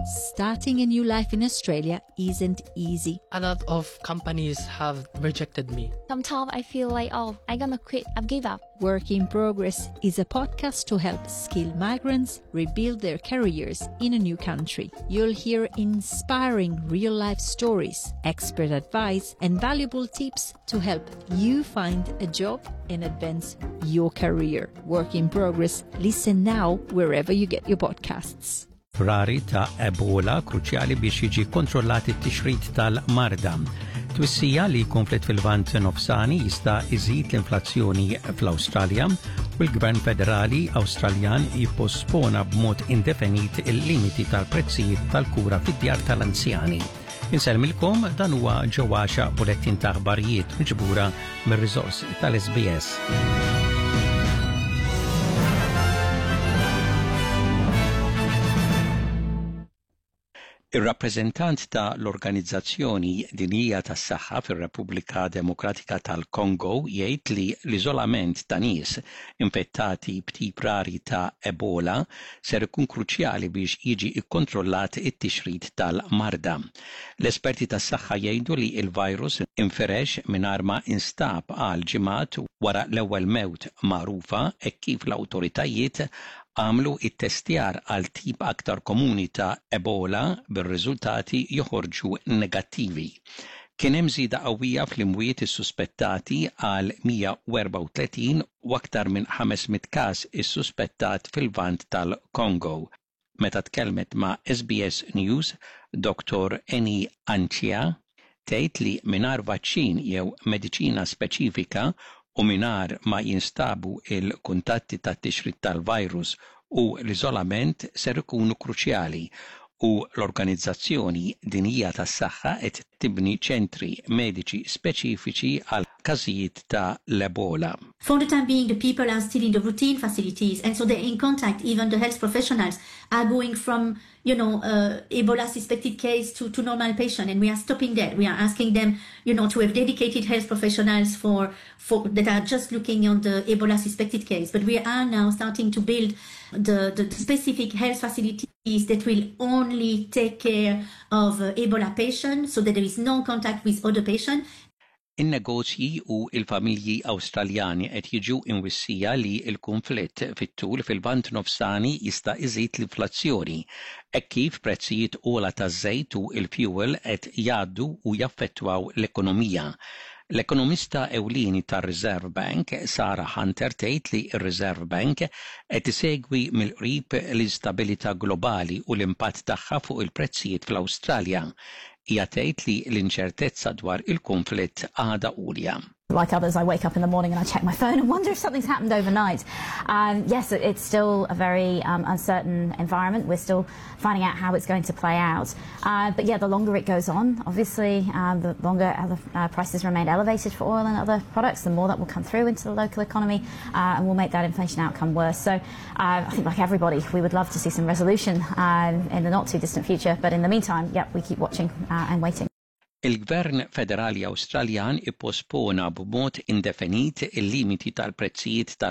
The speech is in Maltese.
Starting a new life in Australia isn't easy. A lot of companies have rejected me. Sometimes I feel like, oh, I'm gonna quit, I've give up. Work in Progress is a podcast to help skilled migrants rebuild their careers in a new country. You'll hear inspiring real life stories, expert advice, and valuable tips to help you find a job and advance your career. Work in Progress. Listen now wherever you get your podcasts. Rari ta' Ebola kruċjali biex jiġi kontrollat it-tixrid tal-marda. Twissija li konflitt fil-Lvant Nofsani jista' iżid l-inflazzjoni fl-Awstralja u l-Gvern Federali Awstraljan jippospona b'mod indefinit il-limiti tal-prezzijiet tal-kura fid-djar tal-anzjani. Insellmilkom dan huwa ġewwaxa bulettin ta' aħbarijiet miġbura mir-riżorsi tal-SBS. Ir-rappreżentant ta' l-Organizzazzjoni Dinjija tas-Saħħa fir-Repubblika Demokratika tal-Kongo jgħid li l-iżolament ta' nies infettati b'tip rari ta' Ebola ser ikun kruċjali biex jiġi kkontrollat it-tixrid tal-marda. L-esperti tas-saħħa jgħidu li l-virus infirex mingħajr ma instab għal ġimgħat wara l-ewwel mewt magħrufa hekk kif l-awtoritajiet għamlu ttestjar għal tip aktar komuni ta' Ebola bir-riżultati joħorġu negattivi. Kien hemm żieda qawwija fl-imwiet issuspettati għal 134 u aktar minn 500 każ issuspettat fil-Lvant tal-Kongo. Meta tkellmet ma' SBS News, Dottor Eni Anchia tgħid li mingħajr vaċċin jew mediċina speċifika u mingħajr ma jinstabu l-kuntatti tat-tixrid tal-virus u l-iżolament ser ikunu kruċjali u l-Organizzazzjoni Dinjija tas-Saħħa qed tibni ċentri mediċi speċifiċi għal każijiet ta' l-Ebola. For the time being the people are still in the routine facilities and so they're in contact, even the health professionals are going from you know, uh, Ebola suspected case to, to normal patient and we are stopping that. We are asking them, you know, to have dedicated health professionals for, for that are just looking on the Ebola suspected case. But we are now starting to build the, the specific health facilities that will only take care of uh, Ebola patients so that there is no contact with other patients. In-negozji u l-familji Awstraljani qed jiġu imwissija li l-kunflitt fit-tul fil-Lvant Nofsani jista' iżid l-inflazzjoni, hekk kif prezzijiet ogħla taż-żejt u l-fjuwil qed jgħaddu u jaffettwaw l-ekonomija. L-ekonomista ewlieni tar-Reserve Bank, Sarah Hunter tgħid li r-Reserve Bank qed isegwi mill-qrib l-instabilità globali u l-impatt tagħha fuq il-prezzijiet fl-Awstralja. Hija tgħid li l-inċertezza dwar il-kunflitt għadha għolja. Like others, I wake up in the morning and I check my phone and wonder if something's happened overnight. Um, yes, it's still a very um, uncertain environment. We're still finding out how it's going to play out. Uh, but yeah, the longer it goes on, obviously, um, the longer uh, prices remain elevated for oil and other products, the more that will come through into the local economy uh, and will make that inflation outcome worse. So uh, I think, like everybody, we would love to see some resolution um, in the not too distant future. But in the meantime, yeah, we keep watching uh, and waiting. Il-Gvern Federali Awstraljan ippospona b'mod indefinit il-limiti tal-prezzijiet tal.